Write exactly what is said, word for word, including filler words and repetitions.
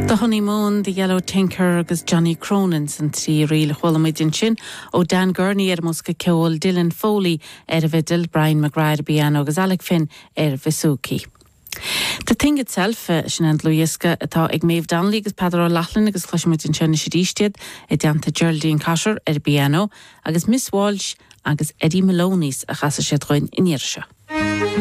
The Honeymoon, The Yellow Tinker agus Johnny Cronin san trí ríl a chuala muid ansin ó Dan Gurney ar mbosca ceoil Dylan Foley ar an bhfidil Brian McGrath piano agus Alec Finn ar bouzouki. The Thing Itself eh, sin an dlúthdhiosca atá ag Maeve Donnelly agus Peadar O'Loughlin agus cloisfimid ansin arís iad i dteannta Geraldine Cotter ar piano agus Miss Walsh agus Eddie Maloney's a chasfaidh siad dúinn an iarraidh seo.